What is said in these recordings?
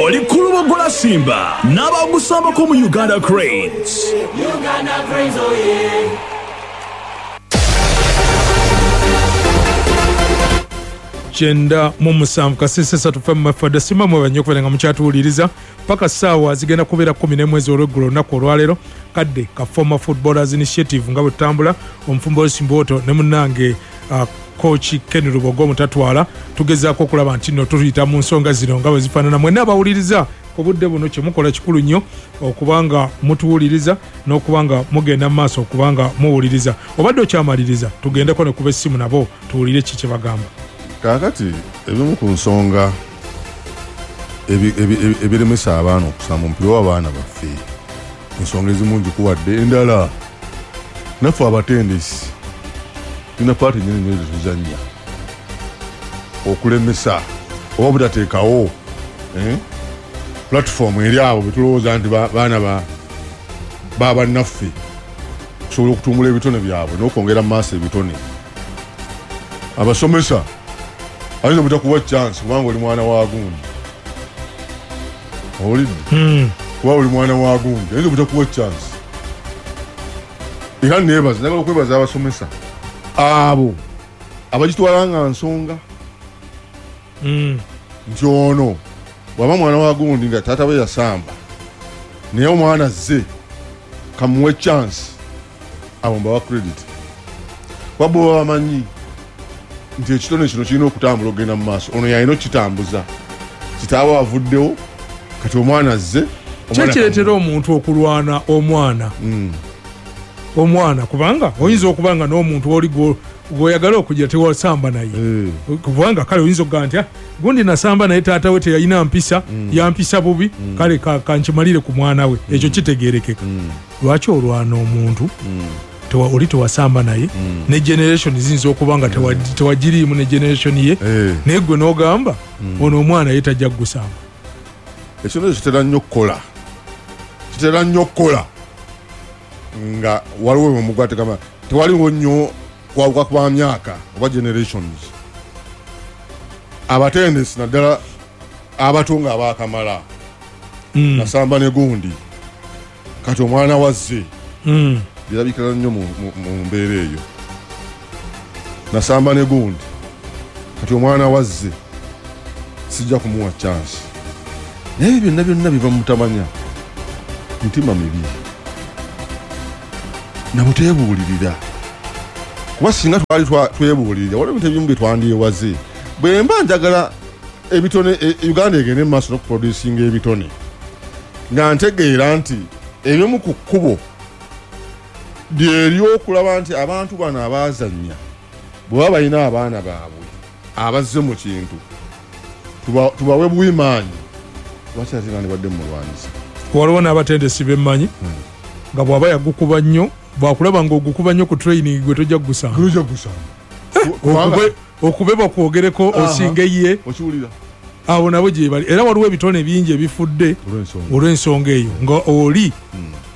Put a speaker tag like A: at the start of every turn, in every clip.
A: Oli Kulubogola Simba n'abagusambako mu Uganda Cranes.
B: Uganda Cranes, oh yeah.
C: 97 kasese 3 FM fada sima mwe banyo kubeera nga mukyatuwuliriza paka ssaawa zigenda kubeera 11 ez'olweggulo olunaku olwaleero kadde ka Former Footballers Initiative nga bwe tutambula omufumbo W'Simboto ne munnange coach Ken Lubogo omutatwala tugezaako okulaba nti nno tuyita mu nsonga zino nga bwe zifaanana. Mwenna abawuliriza ku budde buno kye mukola kikulu nnyo okubanga mutuwuliriza n'okubanga mugenda mu maaso okubanga muwuliriza. Obadde okyamaliriza tugendeko ne kuba essimu nabo tuwulire ki kye bagamba.
D: Kaakati ebimu ku nsonga ebiremesa abaana okusamba omupiira oba abaana baffe, ensonga ezimu ngikuwadde, endala naffe abatendesi tulina paati nnyini nnyo zetuzannya okulemesa oba butateekawo platform eri abo betulowooza nti baana babannaffe okusobola okutumbula ebitone byabwe n'okwongera mu maaso ebitone. Abasomesa ayinza obutakuwa chance kubanga oli mwana wa gundi, owulidde? Kuba oli mwana wa gundi ayinza obutakuwa chance. Era neebaza, njagala okwebaza abasomesa abo abagitwala nga nsonga nti ono bw'aba mwana wa gundi nga taata we yasamba naye omwana azze kamuwe chance, abo mbawa credit. Kuba bo baba bamanyi nti ekitone kino kirina okutambula okugenda mu maaso, ono yalina okukitambuza, kitaawe avuddewo kati omwana azze.
C: Kyekireetera omuntu okulwana omwana omwana, kubanga oyinza okuba nga n'omuntu oli gwoyagala okugira tewasamba naye, kubanga kale oyinza okugamba nti gundi nasamba naye taata we teyalina mpisa, yampisa bubi, kale kankimalire ku mwana we, ekyo kitegeerekeka. Lwaki olwana omuntu oli tewasamba naye, ne generation ziyinza okuba nga tewagiriimu ne generation ye, naye gwe n'ogamba ono omwana ye tajja kugusamba.
D: Ekintu ekyo kitera nnyo okukola, kitera nnyo okukola nga waliwo omugwategama tewaliwo nnyo kwawuka kwa myaka oba generations. Abatendesi naddala abato nga abaakamala nasamba ne gundi kati omwana wazze, birabikira nnyo mu mbeera eyo. Nasamba ne gundi kati omwana wazze, sijja kumuwa chance. Naye byonna byonna biva mu butamanya, mitima mibi nabuteebuulirira. Kuba singa twali twebuulirira waliwo ebintu ebimu bye twandyewaze. Bwe mba njagala ebitone Uganda egende mu maaso n'okuproducinga ebitone, nga ntegeera nti ebimu ku kkubo lyeryokulaba nti abantu bano abaazannya bwe baba balina abaana baabwe abazze mu kintu tubawe buwimaanyi, lwaki ate nandibadde mumulwanyisa?
C: Waliwo n'abatendesi bemmanyi nga bw'aba yagukuba nnyo, bwakulaba ng'ogukuba nnyo ku training gwe tojja kugusanga.
D: Tojja kugusanga.
C: Okube bakwogereko osinge ye.
D: Okiwulira?
C: Abo nabo gye bali. Era waliwo ebitone bingi ebifudde olw'ensonga eyo nga oli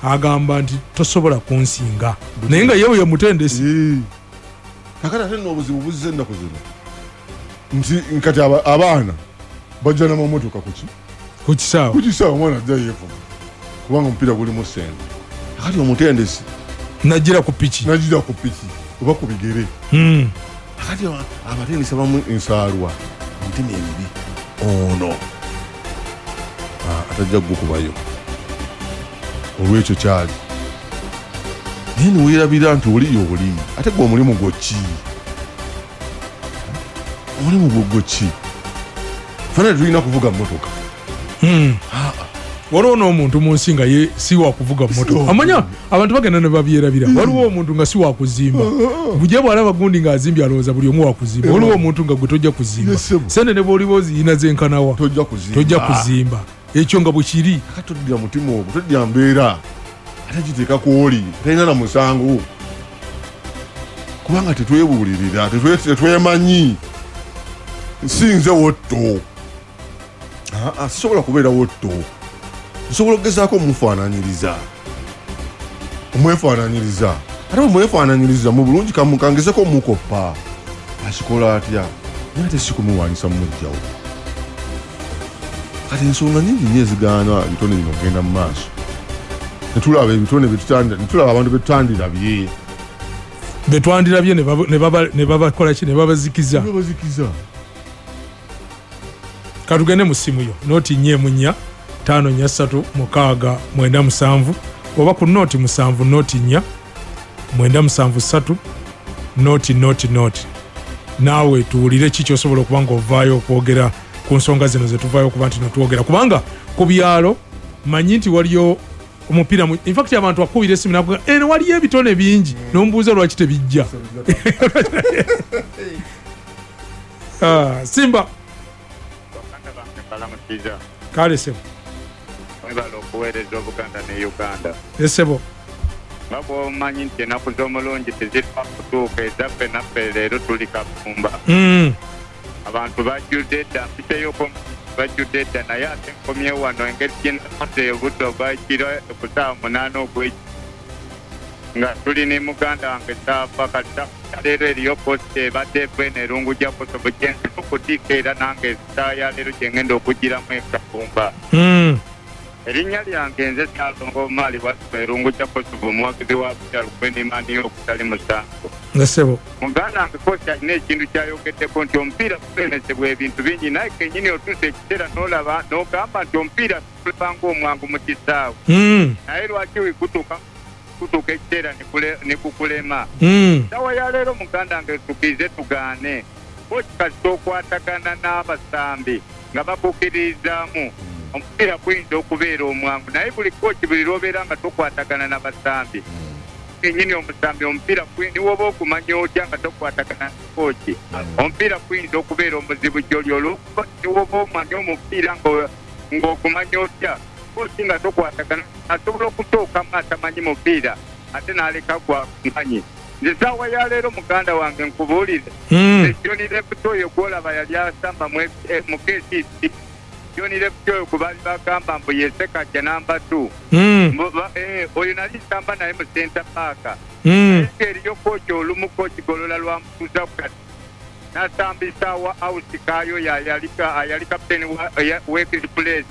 C: agamba nti tosobola kunsinga, naye nga yewe ye mutendesi.
D: Kakati ate nno obuzibu buzze ennaku zino nti kati abaana bajja n'amamotoka kuki?
C: Ku kisaawe.
D: Ku kisaawe omwana ajja yeevuga kubanga omupiira gulimu ssente. Kakati omutendesi
C: najjira ku piki,
D: najjira ku piki oba ku bigere. Kakati abatendesi abamu ensaalwa emitima emibi, ono atajja kugukubayo olw'ekyo kyali, naye neweerabira nti oli y'oli, ate gwe omulimu gwo ki? Omulimu gwo gwo ki? Ffenna tetulina kuvuga mmotoka.
C: Waliwo n'omuntu mu nsi nga ye si wa kuvuga mmotoka, amanya abantu bagenda ne babyerabira. Waliwo omuntu nga si wa kuzimba, bujja bw'alaba gundi ng'azimbye alowooza buli omu wa kuzimba. Waliwo omuntu nga gwe tojja kuzimba, sente ne bw'oliba oziyina zenkanawa tojja kuzimba. Ekyo nga bwe kiri.
D: Kakati toddira mutima ogwo, toddira mbeera ate kiteeka ku oli talina na musango, kubanga tetwebuulirira, tetwemanyi. Si nze wotto, sisobola kubeera wotto, nsobola okugezaako omufaananyiriza, omwefaananyiriza. Ate bwe mwefaananyiriza mu bulungi kangezeko omukoppa akikola atya, naye ate si kumulwanyisa mumuggyawo. Kati ensonga nyingi nnyo ezigaana ebitone bino okugenda mu maaso, netulaba ebitone netulaba abantu betutandirabye
C: betwandirabye ne babakola ki, ne babazikiza.
D: Babazikiza.
C: Katugende mu ssimu yo noti 4 4 5 3 6 9 7 oba ku noti 7 noti 4 9 7 3 noti noti noti, naawe tuwulire ki kyosobola okuba nga ovaayo okwogera ku nsonga zino zetuvaayo okuba nti notwogera, kubanga ku byalo manyi nti waliyo omupiira, in fact abantu akubira esimu nakuga eno waliyo ebitone bingi, n'omubuuza lwaki tebijja. Simba kale sebo,
E: mwebale okuweereza Obuganda ne Uganda.
C: Esebo
E: nga bw'omanyi nti ennaku z'omulungi tezifa kutuuka, ezaffe naffe leero tuli Kafumba. Abantu bajjudde dda, mpiseyoko bajjudde dda, naye ate nkomye wano engeri gye nakoze obudde obwakiro ku ssaawa 8 ogw'ekiro nga tuli ne muganda wange Saafa. Kati leero eriyo posita ebadde eva eno Erungu gya Kosovo gye nzira okutiika, era nange essaawa ya leero gye ngenda okugiramu e Kafumba. Erinnya lyange nze Saalongo Omaali Waswa, Erungu gya Kosovo, omuwagizi wa Peter Lukwenimaniyo okutali musango.
C: Esebo
E: muganda wange kosi alina ekintu kyayogeddeko nti omupiira gulemesebwa ebintu bingi, naye kennyini otuusa ekiseera n'olaba n'ogamba nti omupiira gulaba ng'omwangu mu kisaawe, naye lwaki gutuuka ekiseera ne gukulema? Sawa ya leero muganda wange tukize tugaane, koki kasita okwatagana n'abasambi nga bakukkiririzaamu, omupiira guyinza okubeera omwangu, naye buli koki buli lw'obeera nga tokwatagana n'abasambi kennyini, omusambi omupiira niwoba okumanya otya nga tokwatagana na koki, omupiira guyinza okubeera omuzibu gy'oli, olwokuba niwoba omanya omupiira ng'ogumanya otya, koki nga tokwatagana asobola okusookamu atamanyi mupiira ate n'aleka gwakumanyi. Nze saawa ya leero muganda wange nkubuulire, John Left oyo gw'olaba yali asamba mu KCC, John Left oyo gwe baali bagamba mbu ye Sekajja namba 2, oyo nali nsamba naye mu center back, eriyo koki olumu koki Golola lwamutuuza kati n'asambisa wa Ausi Kaayo ayali kapiteeni w'Express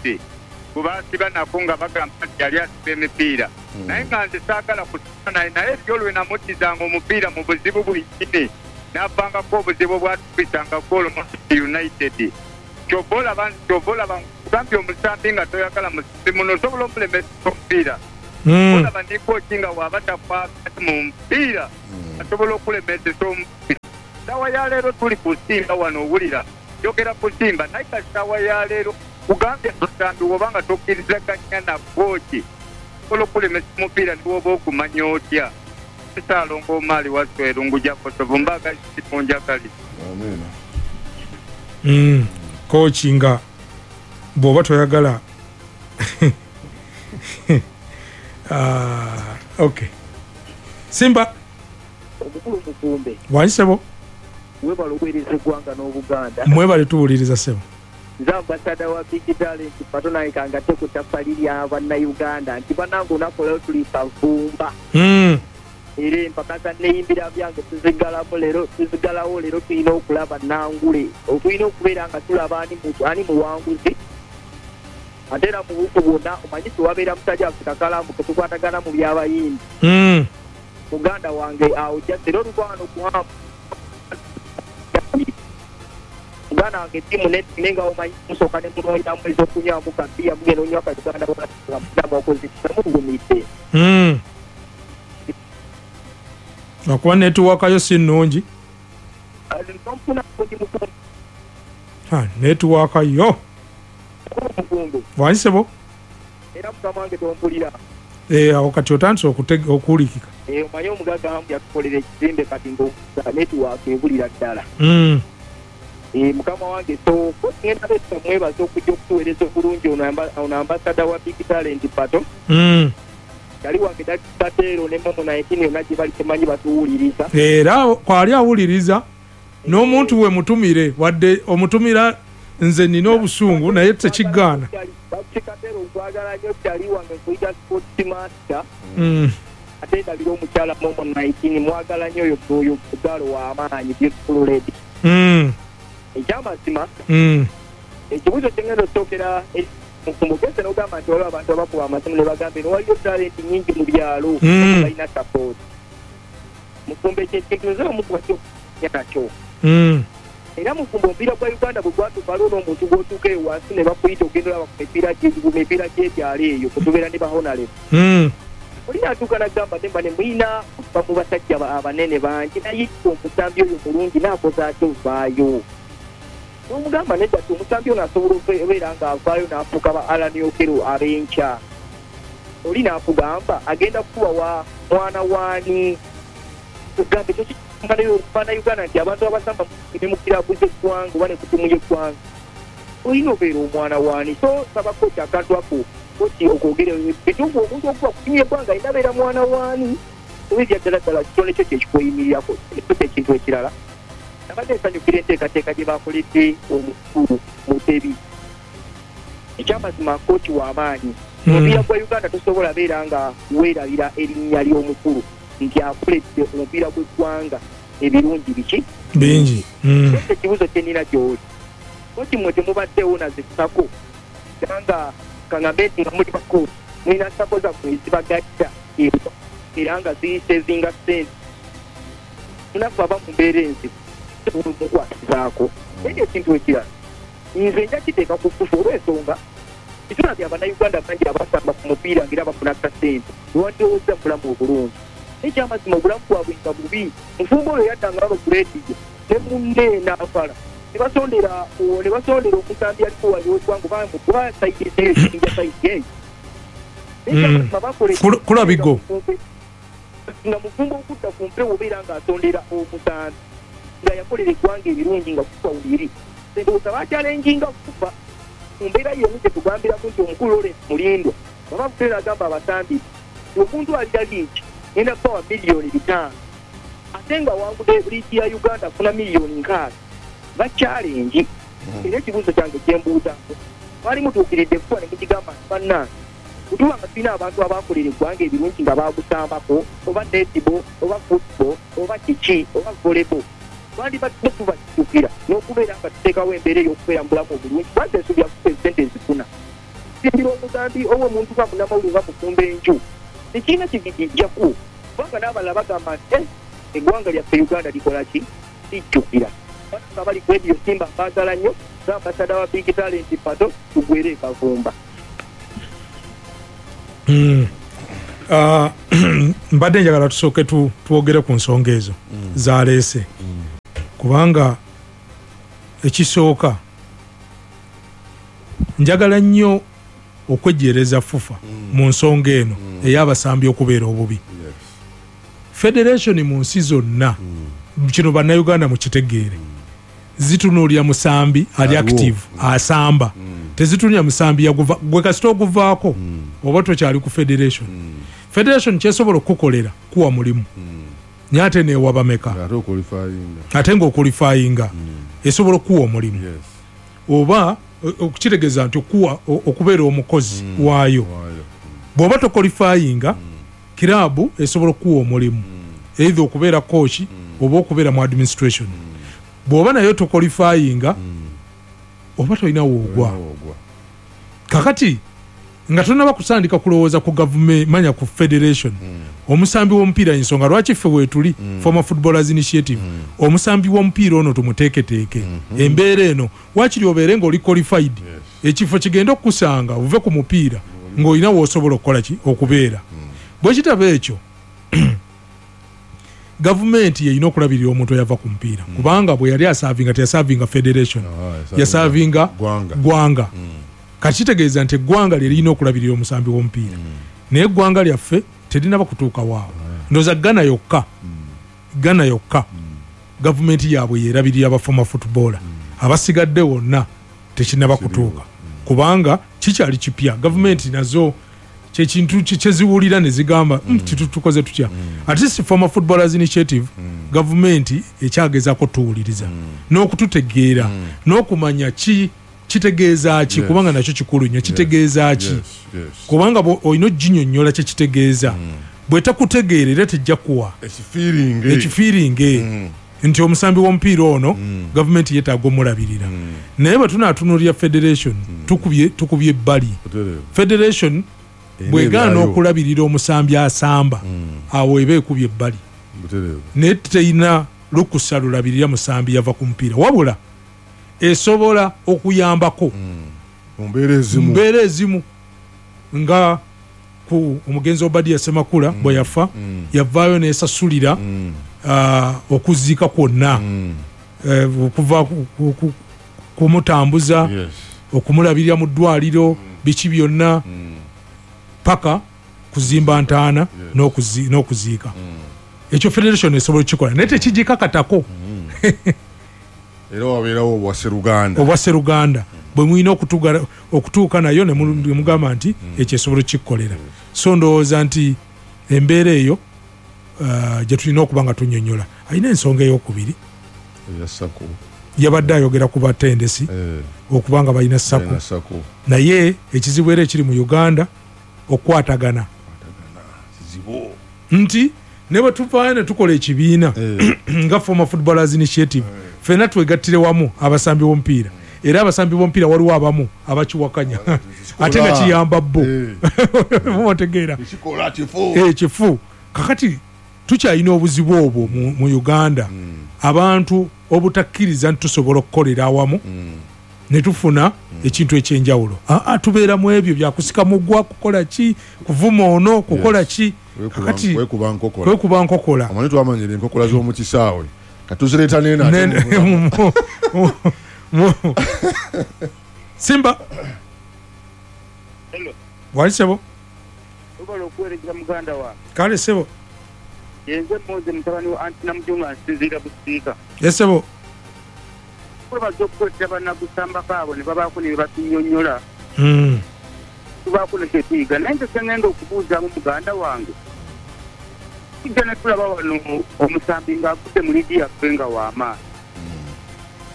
E: gwe baasiba nako nga bagamba nti yali asiba emipiira, naye nga nze saagala kusiba naye, naye eryo lwe namuddizanga omupiira mu buzibu bwennyini n'avangako obuzibu obwatukisanga goolo mu United. Kyova olaba nkugambye omusambi nga toyagala musambi muno osobola omulemesa omupiira, olaba ni koki nga waba takwagala mu mupiira asobola okulemesesa omupiira. Saawa ya leero tuli ku Simba wano, owulira njogera ku Simba, naye ka saawa ya leero kugambye musambi woba nga tokkirizaganya na koki osobola okulemesa omupiira niwoba ogumanya otya. Saalongo Omaali Waswa, Erungu gya Kosovo, mbaga simunjagali.
C: Koki nga bw'oba toyagala. Okay, Simba
F: omukulu Mukumbe
C: wanyi sebo,
F: webale okuweereza eggwanga n'Obuganda.
C: Mwebale tuwuliriza sebo.
F: Nze ambasada wa Big Talent Pato, naye kangate ku ttaffaali lya Bannayuganda nti bannange olunaku olwaleero tuli Kavumba, era empaka za Neyimbira Byange tuzigalamu leero, tuzigalawo leero. Tulina okulaba nangule, tulina okubeera nga tulaba ani muwanguzi, ate era mu buufu bwonna omanyi tewabeera musajja waffe Kakalamu ketukwatagana mu byabayimbi, muganda wange awo jasi era oluva wano kuhamu muganda wange tiimu naye nga omanyi musooka ne munoonyamu ez'okunywamu kabiya, mugenda onywa ka Uganda nga mugumidde.
C: Okuba netiwaka yo si nnungi.
F: Nonfuna ndi Mukumbi.
C: Netiwaka yo.
F: Mukumbi.
C: Wanyi sebo.
F: Era mukama wange tompulira?
C: Awo kati otandise okuwulikika.
F: Omanyi omugagga Hamu yatukolera ekizimbe, kati nga netiwaaka ebulira ddala. Mukama wange, so ngenda besa mwebaza okujja okutuweereza obulungi ono ambasada wa Big Talent Pato, yali wange Dakikateero ne Momo 19 yonna gye bali temanyi batuwuliriza.
C: Era kwali awuliriza n'omuntu we mutumire, wadde omutumira nze nina obusungu naye tekigaana.
F: Dakikateero nkwagala nnyo, kyali wange, nkuyita sports master. Ate ndabira omukyala Momo 19 mwagala nnyo, oyo oyo galo w'amaanyi, beautiful lady. Ekyamazima, Ekibuuzo kyengenda okusookera mugese n'ogamba nti waliwo abantu abakuba amasimu ne bagamba eno waliyo talenti nnyingi mu byalo, balina support. Mufumbo, ekyo ekintu nze omu ku nakyo. Era mufumbo, omupiira gwa Uganda bwe gwatuuka, waliwo n'omuntu gw'otuuka eyo wansi ne bakuyita ogenda olaba ku mipiira gy'ebyalo eyo kwe tubeera ne bahonale. Oli natuuka nagamba nemba ne muyina kuva mu basajja abanene bangi, naye omusambi oyo mulungi naakoze atya ovaayo? N'omugamba nedda ti omusambi ono asobola okubeera ng'avaayo n'afuuka ba Allan Okello ab'enkya. Oli n'akugamba agenda kukuba wa mwana waani? Kugambe ekyo Bannayuganda nti abantu abasamba ne mu kiraabu z'eggwanga oba ne ku ttiimu y'eggwanga olina obeera omwana waani? So saba kooti akantu ako, kooti okwogera bituufu, omuntu okuba ku ttiimu y'eggwanga alina abeera mwana waani oba ebya ddala ddala kitone kyo kyekikweyimirirako. Ekyo ekintu ekirala, nabadde nsanyukira enteekateeka gye bakoledde omukulu Mutebi. Ekyamazima kooti w'amaanyi. Omupiira gwa Uganda tosobola beera nga weerabira erinnya ly'omukulu nti akoledde omupiira gw'eggwanga ebirungi biki?
C: Bingi.
F: Ese ekibuuzo kye nnina gy'oli, kooti, mmwe temubaddeewo naze SACCO, era nga kaŋŋambe nti nga muli bakooti mulina SACCO zammwe ezibagatta era nga zisevinga ssente, munaffe aba mu mbeera enzibu mukwatizaako. Naye ekintu ekirala, nze nja kiteeka ku FUFA olw'ensonga kitulabye Abannayuganda bangi abasamba ku mupiira ngaera bafuna kasente lwandowooza bulamu obulungi, ekyamazima obulamu bwabwe nga bubi. Mufumbo, oyo yaddanga wano ku leediyo ne munne n'afala ne basondera omusambi aliko waliweggwanga oba side eyo kinja side eyo. Ekyamazima bakola
C: Kulabigo.
F: Nga mufumbo okudda ku mpewo obeera ng'asondera omusambi nga yakolera eggwanga ebirungi nga kufa wuliri, ndowooza bakyalenjinga kufa mu mbeera yemu gye tugambiramu nti omukulu Lawrence Mulindwa baba buteera agamba abasambi nti omuntu alira liigi ngenda kubawa 5 miliyoni ate nga wangudde liigi ya Uganda afuna 6 miliyoni, bakyalengi. Era ekibuuzo kyange kyembuuzaako, mwali mutuukiridde kuba ne mukigamba nti bannange, bwetuba nga tulina abantu abakolera eggwanga ebirungi nga bagusambako oba netball oba football oba kiki oba volleyball, twandibadde tubajjukira n'okubeera nga tuteekawo embeera ey'okubeera mu bulamu obulungi, kubanga ensuubira kufa esente ezifuna simbira omugambi oba omuntu nga munnamawulire nga mufumba enju tekirina kigigijjaku, kubanga n'abalala bagamba nti, "Eh, eggwanga lyaffe Uganda likola ki? Lijjukira." Bananga bali ku Radio Simba, mbaagala nnyo nga ambasada wa Big Talent Pato, tugwere ekavumba.
C: Ah, mbadde njagala tusooke twogere ku nsonga ezo zaleese, kubanga ekisooka njagala nnyo okwejjeereza FUFA mu nsonga eno ey'abasambi okubeera obubi. Federation mu nsi zonna, kino Bannayuganda mukitegeere, zitunuulira musambi ali
D: Aliwo.
C: active asamba, tezitunuulira musambi yaguva. Gwe kasita oguvaako oba tokyali ku federation. Federation kyesobola okukukolera kuwa mulimu, naye ate neewa bameka?
D: Ate oqualifyinga.
C: Ate ng'oqualifyinga esobola okukuwa omulimu oba okukitegeeza nti okuwa okubeera omukozi waayo.
D: Waayo.
C: Bw'oba toqualifyinga, kiraabu esobola okukuwa omulimu, either okubeera coach oba okubeera mu administration. Bw'oba naye toqualifyinga, oba tolina woogwa.
D: Ogwa.
C: Kakati nga tonaba kutandika kulowooza ku gavumenti, manya ku federation, omusambi w'omupiira, ensonga lwaki ffe weetuli Former Footballers Initiative, omusambi w'omupiira ono tumuteeketeeke embeera eno, wakiri obeere ng'oli qualified, ekifo kigende okukusanga ove ku mupiira ng'olina w'osobola okukola ki okubeera. Bwe kitaba ekyo, gavumenti yeyina okulabirira omuntu eyava ku mupiira, kubanga bwe yali aservinga teyaservinga federation, yaservinga
D: Gwanga.
C: Gwanga. Kati kitegeeza nti eggwanga lye lirina okulabirira omusambi w'omupiira, naye eggwanga lyaffe terinaba kutuuka waawo. Ndowooza Ghana yokka, Ghana yokka gavumenti yaabwe yerabirira aba former footballer, abasigadde wonna tekinaba kutuuka kubanga kikyali kipya. Gavumenti nazo kyekintu kyeziwulira ne zigamba, tukoze tutya?" At least Former Footballers Initiative, gavumenti ekyagezaako tuwuliriza n'okututegeera n'okumanya ki kitegeeza ki, kubanga nakyo kikulu nnyo, kitegeeza ki? Kubanga olina oginyonnyola kyekitegeeza, bwetakutegeera era tejja kuwa
D: ekifiiringe.
C: Ekifiiringe. Nti omusambi w'omupiira ono gavumenti yeetaaga omulabirira. Naye bwe tunaatunulira federation, tukubye ebbali. Federation bwegaana okulabirira omusambi asamba, awo eba ekubye ebbali. Naye terina lukusa lulabirira musambi yava ku mupiira, wabula esobola okuyambako
D: mu
C: mbeera ezimu nga ku omugenzi Obadia Semakula bwe yafa, yavaayo nesasulira okuziika kwonna, okuva kumutambuza, okumulabirira mu ddwaliro, biki byonna, paka kuzimba ntaana n'okuziika. Ekyo federation esobola okukikola, naye tekigikakatako.
D: Era wabeerawo obwaseruganda.
C: Obwaseruganda bwe mulina okutuuka nayo ne mugamba nti ekyo esobola okukikolerera. So ndowooza nti embeera eyo gye tulina okuba nga tunnyonnyola. Alina ensonga eyokubiri yabadde ayogera ku batendesi okuba nga balina SACCO, naye ekizibu era ekiri mu Uganda okukwatagana nti ne bwe tuvaayo ne tukola ekibiina nga Former Footballers Initiative, ffenna twegattire wamu abasambi b'omupiira. Era abasambi b'omupiira waliwo abamu abakiwakanya ate nga kiyamba bo, mubategeera kifu. Kakati tukyalina obuzibu obwo mu Uganda, abantu obutakkiriza nti tusobola okukolera awamu ne tufuna ekintu ekyenjawulo. Tubeera mu ebyo byakusika mugwa, kukola ki, kuvuma ono, kukola ki, kakati kwekuba nkokola.
D: Amanyi twamanyira enkokola z'omu kisaawe, katuzireeta nene.
C: Simba wali sebo? Kale sebo.
E: Yenze Moze mutabani wa Anti Namujunga, nsinziira Busiika.
C: Esebo.
E: Kwebaza okukwetera bannagusambako abo ne babaako ne batunyonnyola, tubaako ne kyetuyiga. Naye nze kyengenda okubuuzaamu muganda wange, tujja ne tulaba wano omusambi ng'avudde mu liigi yaffe nga w'amaanyi,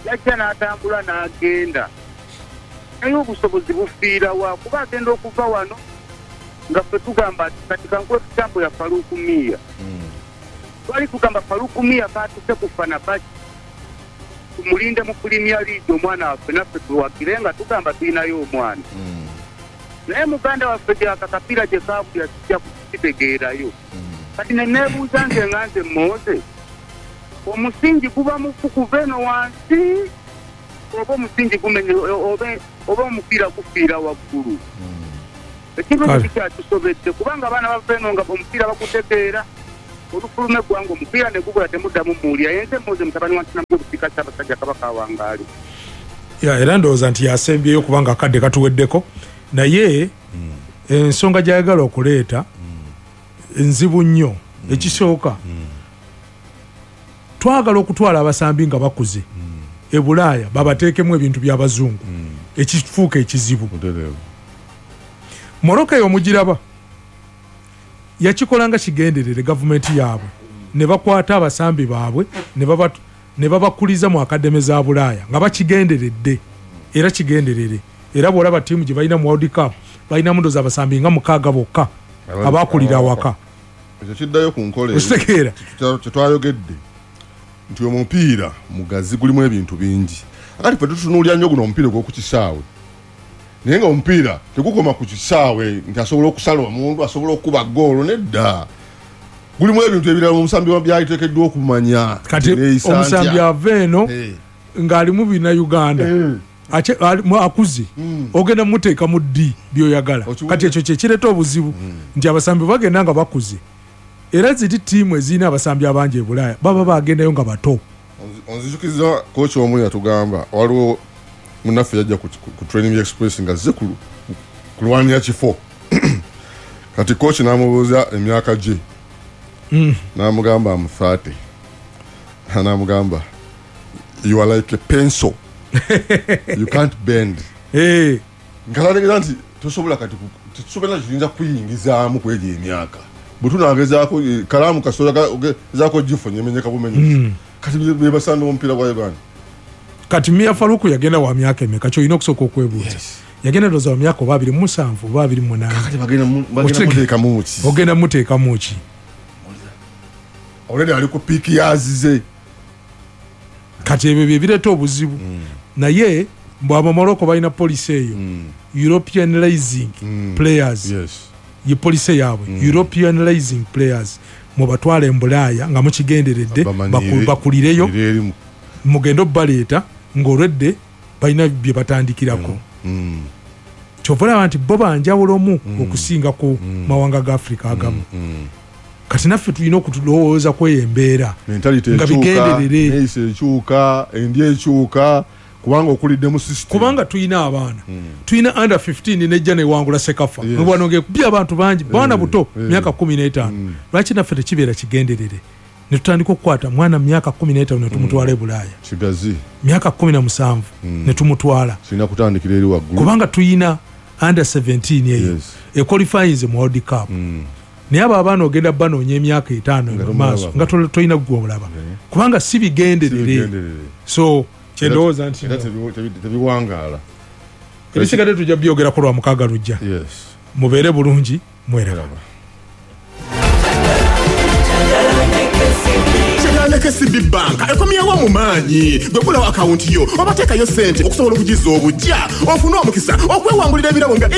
E: yajja n'atambula n'agenda, naye obusobozi bufiira wa? Kuba agenda okuva wano nga ffe tugamba ati kati kankuwe example ya Farouk Miya. Twali tugamba Farouk Miya kaatuse ku Fenerbahce, tumulinde mu Premier League, omwana waffe naffe tuwagire nga tugamba tulinayo omwana. Naye muganda waffe gyakakapiira gye kaabulira kijja kukitegeerayo. Kati ne neebuuza nze nga nze Moze, omusingi guba mufu kuva eno wansi oba omusingi gumenye oba omupiira gufiira waggulu? Ekintu ekyo kikyatusobedde, kubanga abaana bava eno nga omupiira bagutegeera, olufuluma eggwanga omupiira ne gubula, temuddamu muwulira. Yenze Moze mutabani wa Ntinamujja Obusiika, Ssaabasajja Kabaka awangaale.
C: Era ndowooza nti yasembyeyo kubanga akadde katuweddeko, naye ensonga gy'ayagala okuleeta nzibu nnyo. Ekisooka, twagala okutwala abasambi nga bakuze e Bulaaya babateekemu ebintu by'abazungu, ekifuuka ekizibu. Morocco eyo mugiraba yakikola nga kigenderere, gavumenti yaabwe ne bakwata abasambi baabwe ne babakuliza mu academy za Bulaaya nga bakigenderedde, era kigenderere. Era bw'olaba ttiimu gye balina mu World Cup, balinamu ndowooza abasambi nga 6 bokka abakulira awaka.
D: Ekyo kiddayo ku nkola
C: Okitegeera?
D: Kyetwayogedde nti omupiira mugazi, gulimu ebintu bingi. Akati ffe tutunuulira nnyo guno omupiira ogw'oku kisaawe, naye nga omupiira tegukoma ku kisaawe nti asobola okusala omuntu, asobola okukuba ggoolo, nedda. Gulimu ebintu ebirala omusambi byaliteekeddwa okumanya.
C: Kati omusambi ava eno ng'alimu bina Uganda, akuze, ogenda muteeka mu ddi byoyagala? Kati ekyo kyekireeta obuzibu nti abasambi bagenda nga bakuze, era ziri ttiimu ezirina abasambi abangi e Bulaaya baba bagendayo nga bato.
D: Onzijukiza kochi omu yatugamba, waliwo munaffe yajja ku Training Express nga azze kulwanira kifo. Kati kochi n'amubuuza emyaka gye, n'amugamba am 30, n'amugamba you are like a pencil, you can't bend. Nkalategeeza nti tosobola kati tetusobola kiyinza kuyingizaamu kwegyo emyaka. Bwe tunagezaako kalaamu kasobola gifunye emenyeka bumenyesi. Kati bebasamba omupiira gwa Uganda.
C: Kati Mia Faruku yagenda wa myaka emeka? Kyolina okusooka okwebuuza. Yagenda ndowooza wa myaka oba 27 oba 28.
D: Kati bagenda muteekamu ki?
C: Ogenda muteekamu ki?
D: Already ali ku peak yazize.
C: Kati ebyo bye bireeta obuzibu. Naye mbw Abamorocco balina policy eyo, Europeanizing players. Ye policy yaabwe, Europeanizing players, mubatwale embulaaya nga mukigenderedde, bakulireyo, mugende obbaleeta ng'olwedde balina bye batandikirako. Kyova olaba nti bo banjawulomu okusinga ku mawanga ga Africa agamu. Kati naffe tulina okutulowooza kweyo embeera
D: nga
C: bigenderere.
D: Neeyisa ekyuka, endya ekyuka, kubanga okulidde mu system.
C: Kubanga tulina abaana, tulina under 15 nejja newangula CECAFA, wano ngekubye abantu bangi, baana buto, myaka 15. Lwaki naffe tekibeera kigenderere netutandika okukwata mwana myaka 15 netumutwala e Bulaaya?
D: Kigazi.
C: Myaka 17 netumutwala.
D: Kirina kutandikira eri waggulu.
C: Kubanga tuyina under 17 eyo equalifyinze mu World Cup. Naye abo abaana ogenda banoonya emyaka 5
D: Nga
C: mu maaso
D: tomulaba.
C: nga tolina gwe omulaba, kubanga si bigenderere.
D: Bigenderere.
C: So kyendowooza nti
D: Era tebiwangaala.
C: Ebisigadde tujja byogerako lwa mukaaga lujja. Mubeere bulungi, mweraba.
G: Ne KCB Bank ekomyewo mu maanyi. Gwe gulawo akawunti yo oba teekayo ssente okusobola okugiza obujja, ofune omukisa okwewangulira ebirabo nga